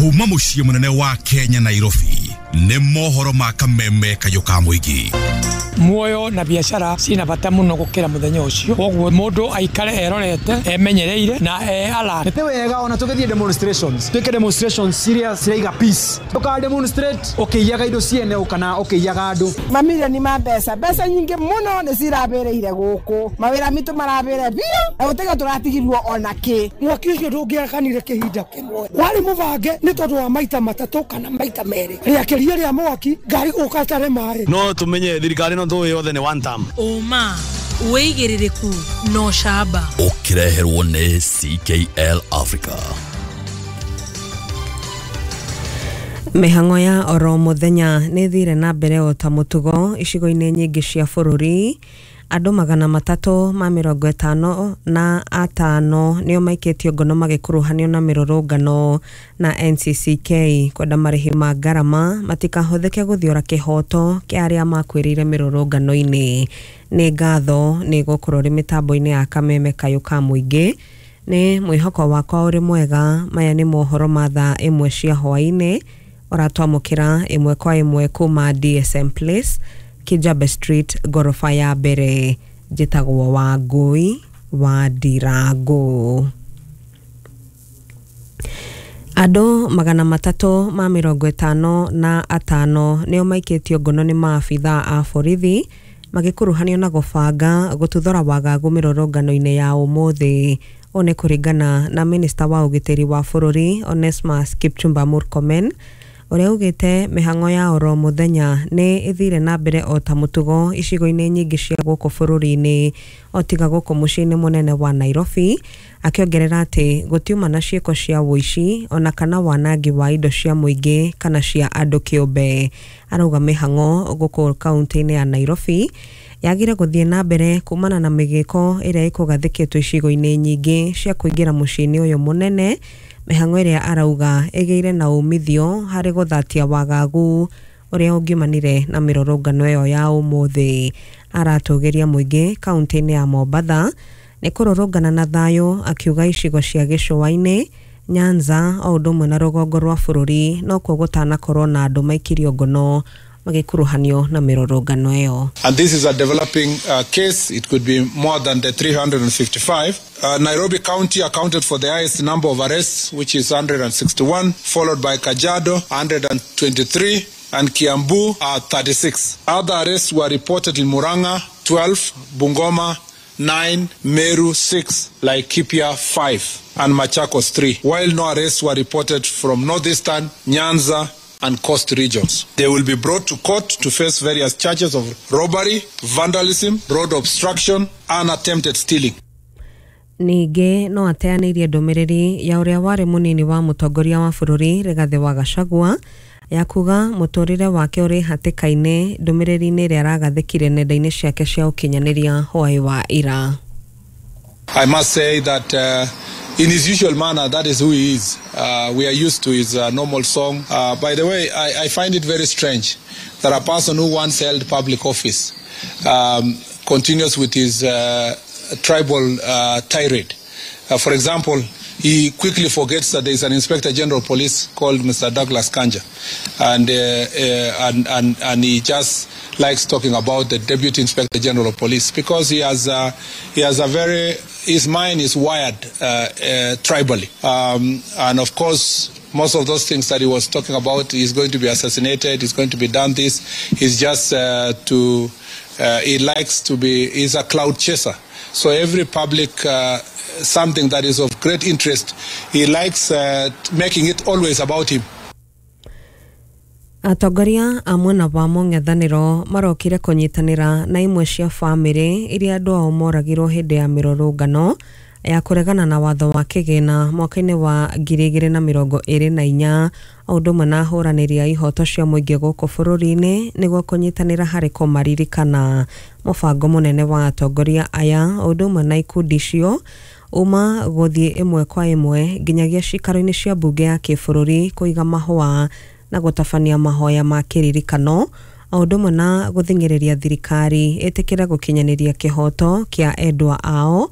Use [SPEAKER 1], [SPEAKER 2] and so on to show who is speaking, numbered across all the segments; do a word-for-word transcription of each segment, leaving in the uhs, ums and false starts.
[SPEAKER 1] Kuma muciĩ munene wa Kenya Nairobi nĩ mohoro ma kameme kayũ ka mũingĩ.
[SPEAKER 2] Muoyo na biacara cina bata muno gukira muthenya ucio, koguo mundu aikare erorete emenyereire na e alert.
[SPEAKER 3] Nĩ wega ona tũgĩthiĩ demonstrations, twĩke demonstrations ciria ciraiga peace, ndũka demonstrate ũkĩiyaga indo ciene kana ũkĩiyaga andũ.
[SPEAKER 4] Mamirioni ma mbeca, mbeca nyingĩ mũno nĩ cirabĩrĩire gũkũ, mawĩra mitũ marabĩre biũ na gũtiga tũratigirwo ona kĩ.
[SPEAKER 5] Mwaki ũcio ndũngĩakanire kĩhinda kĩmwe, warĩ mũbange nĩ tondũ wa maita matatũ kana maita merĩ, rĩakĩria rĩa mwaki ngari gũka ĩtarĩ maĩ.
[SPEAKER 6] No tumenye thirikari no tũĩ yothe nĩ one term.
[SPEAKER 7] Ũma wĩigĩrĩrĩku no camba
[SPEAKER 1] ũkĩreherwo nĩ C K L Africa.
[SPEAKER 8] Mĩhang'o ya oro mũthenya nĩ thire na mbere o ta mũtugo icigo-inĩ nyingĩ cia bũrũri. Andũ magana matatũ ma mĩrongo ĩtano na atano nĩo maikĩtio ngono magĩkuruhanio na mĩrũrũngano na N C C K kwenda marĩhi ma ngarama matikahũthĩke gũthiora kĩhoto kĩa arĩa makuĩrĩire mĩrũrũngano-inĩ. Nĩ ngatho nĩ gũkorwo rĩ mĩtambo-inĩ ya kameme kayũ ka mũingĩ. Nĩ mwĩhoko wakwa ũrĩ mwega. Maya nĩ mohoro ma thaa ĩmwe cia hwaĩ-inĩ ũratwamũkĩra ĩmwe kwa ĩmwe kuma D S M Place, Kijabe Street, gorofa ya mbere. Njĩtagwo Wangũi wa Ndirango. Andũ magana matatũ ma mĩrongo ĩtano na atano nĩo maikĩtio ngono nĩ maabithaa a borithi magĩkuruhanio na gũbanga gũtuthũra wagagu mĩrũrũngano-inĩ ya ũmũthĩ. Ũũ nĩ kũringana na minista wa ũgitĩri wa bũrũri Onesmus Kipchumba Murkomen, ũrĩa ugĩte mĩhang'o ya oro mũthenya nĩ ĩthire na mbere o ta mũtugo icigo-inĩ nyingĩ cia gũkũ bũrũri-inĩ o tiga gũkũ mũciĩ-inĩ mũnene wa Nairobi, akĩongerera atĩ gũtiuma na ciĩko cia ũici ona kana wanangi wa indo cia mũingĩ kana cia andũ kĩũmbe. Arauga mĩhang'o gũkũ kaunti-inĩ ya Nairobi yagire gũthiĩ na mbere kumana na mĩgĩko ĩrĩa ĩkũgathĩkĩtwo icigo-inĩ nyingĩ cia kũingĩra mũciĩ-inĩ ũyũ mũnene, mĩhang'o ĩrĩa arauga ĩgĩire na umithio harĩ gũthatia wagagu ũrĩa ũngiumanire na mĩrũrũngano ĩyo ya ũmũthĩ. Aratũgĩria mũingĩ kaunti-inĩ ya Mombatha nĩ kũrũrũngana na thayũ, akiuga icigo cia gĩcũa-inĩ, Nyanza o ũndũ ũmwe na rũgongo rwa bũrũri nokuo gũtanakorwo na andũ maikirio ngono magĩkuruhanio na mĩrũrũngano ĩyo.
[SPEAKER 9] And this is a developing uh, case. It could be more than the three hundred fifty-five. Uh, Nairobi County accounted for the highest number of arrests, which is one hundred sixty-one, followed by Kajiado, one hundred twenty-three, and Kiambu, uh, thirty-six. Other arrests were reported in Murang'a, twelve, Bungoma, nine, Meru, six, Laikipia, five, and Machakos, three, while no arrests were reported from Northeastern, Nyanza, and Coast regions. They will be brought to court to face various charges of robbery, vandalism, road obstruction, and attempted stealing.
[SPEAKER 8] Ningĩ no ateanĩirie ndũmĩrĩri ya ũrĩa warĩ mũnini wa mũtongoria wa bũrũri Rigathĩ wa Gachagua ya kuga mũtũrĩre wake ũrĩ hatĩka-inĩ, ndũmĩrĩri-inĩ ĩrĩa aragathĩkire nenda-inĩ ciake cia ũkinyanĩria hwaĩ wa ira.
[SPEAKER 9] I must say that uh, in his usual manner, that is who he is. Uh, we are used to his uh, normal song. Uh, by the way, I, I find it very strange that a person who once held public office um, continues with his uh, tribal uh, tirade. Uh, for example, he quickly forgets that there is an Inspector General of Police called Mister Douglas Kanja, and, uh, uh, and, and, and he just likes talking about the Deputy Inspector General of Police because he has, uh, he has a very, his mind is wired uh, uh, tribally. Um, and of course, most of those things that he was talking about, he's going to be assassinated, he's going to be done this, he's just uh, to, uh, he likes to be, he's a cloud chaser. So every public uh, something that is of great interest, he likes uh, making it always about him.
[SPEAKER 8] Atongoria a mwena wa mũng'ethanĩro marokire kũnyitanĩra na imwe cia bamĩrĩ iria andũ ao moragirwo hĩndĩ ya mĩrũrũngano ya kũregana na watho wa kĩgĩna mwaka-inĩ wa ngiri igĩrĩ na mĩrongo ĩrĩ na inya, o ũndũ ũmwe na ahũranĩri a ihoto cia mũingĩ gũkũ bũrũri-inĩ nĩguo kũnyitanĩra harĩ kũmaririkana. Mũbango mũnene wa atongoria aya o ũndũ ũmwe na ikundi icio uma gũthiĩ ĩmwe kwa ĩmwe nginyagia cikaro-inĩ cia mbunge ya kĩbũrũri kũiga mahũa na gũtabania mahoya ma kĩririkano o ũndũ ũmwe na gũthing'ĩrĩria thirikari ĩtĩkĩre gũkinyanĩria kĩhoto kĩa endwa ao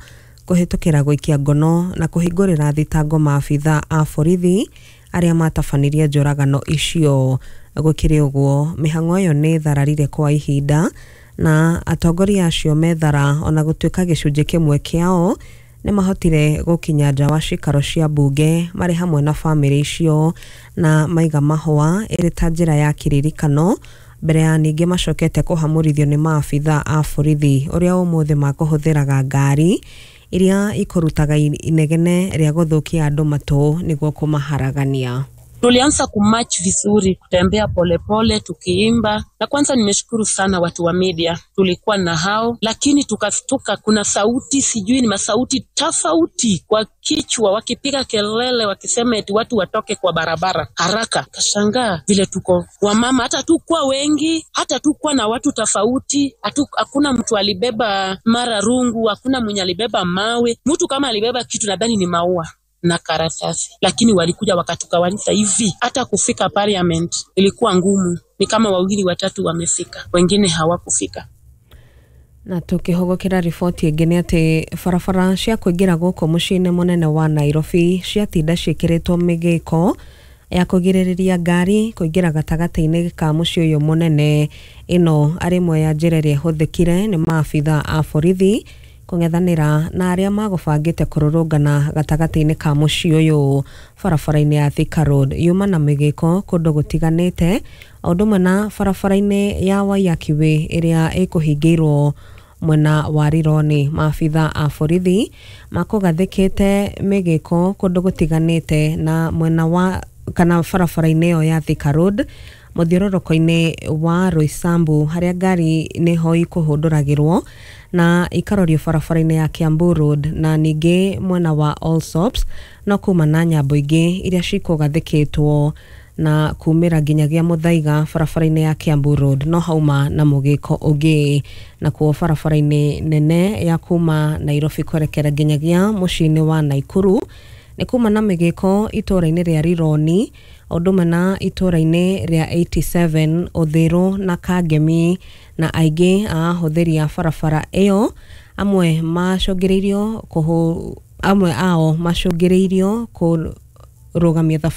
[SPEAKER 8] kũhĩtũkĩra gũikia ngono na kũhingũrĩra thitango maabithaa a borithi arĩa matabanirie njũragano icio. Gũkĩrĩ ũguo, mĩhang'o ĩyo nĩ ĩthararire kwa ihinda na atongoria acio methara, ona gũtuĩka gĩcunjĩ kĩmwe kĩao nĩ mahotire gũkinya nja wa cikaro cia mbunge marĩ hamwe na bamĩrĩ icio na maiga mahũa ĩrĩ ta njĩra ya kĩririkano, mbere ya ningĩ macokete kũhamũrithio nĩ maabitha a borithi ũrĩa ũmũthĩ makũhũthĩraga ngari iria ikũrutaga inegene rĩa gũthũkia andũ matũ nĩguo kũmaharagania.
[SPEAKER 10] Tulianza kumarch vizuri, kutembea polepole tukiimba, na kwanza nimeshukuru sana watu wa media, tulikuwa na hao, lakini tukastuka, kuna sauti sijui ni masauti tofauti kwa kichwa, wakipiga kelele wakisema eti watu watoke kwa barabara haraka. Kashangaa vile tuko wamama, hata tukuwa wengi, hata tukuwa na watu tofauti, hakuna mtu alibeba mara rungu, hakuna mwenye alibeba mawe. Mtu kama alibeba kitu nadhani ni maua na karatasi, lakini walikuja wakatukawanisa hivi. Hata kufika parliament ilikuwa ngumu, ni kama wawili watatu wamefika, wengine hawakufika.
[SPEAKER 8] Na tukihũgũkĩra riboti ĩngĩ nĩ atĩ barabara cia kũingĩra gũkũ mũciĩ-inĩ mũnene wa Nairobi ciatinda ciĩkĩrĩtwo mĩgĩko ya kũgirĩrĩria ngari kũingĩra gatagatĩ-inĩ ka mũciĩ ũyũ mũnene. Ĩno arĩ ĩmwe ya njĩra ĩrĩa ĩhũthĩkire nĩ maabitha a borithi kũng'ethanĩra na arĩa magũbangĩte kũrũrũngana gatagatĩ-inĩ ka mũciĩ ũyũ. Barabara-inĩ ya Thika Road yuma na mĩgĩko kũndũ gũtiganĩte, o ũndũ ũmwe na barabara-inĩ ya Waiyaki Way ĩrĩa ĩkũhingĩirwo mwena wa Rironi. Maabitha a borithi makũgathĩkĩte mĩgĩko kũndũ gũtiganĩte na mwena wa kana barabara-inĩ ĩyo ya Thika Road mũthiũrũrũko-inĩ wa Roysambu harĩa ngari nĩho ikũhũndũragĩrwo na ikarorio barabara-inĩ ya Kiambu Road, na ningĩ mwena wa Allsops no kuma na nyambo ingĩ iria cikũgathĩkĩtwo na kumĩra nginyagia Muthaiga barabara-inĩ ya Kiambu Road no hauma na mũgĩko ũngĩ. Nakuo barabara-inĩ nene ya kuma Nairobi kwerekera nginyagia mũciĩ-inĩ wa Naikuru nĩ kuma na mĩgĩko itũũra-inĩ rĩa Rironi, o ũndũ ũmwe na itũũra-inĩ rĩa eighty-seven Uthiru na Kangemi, na aingĩ a ahũthĩri a barabara ĩyo amwe macũngĩrĩirio kũhũ amwe ao macũngĩrĩirio kũrũgamia thabarĩ.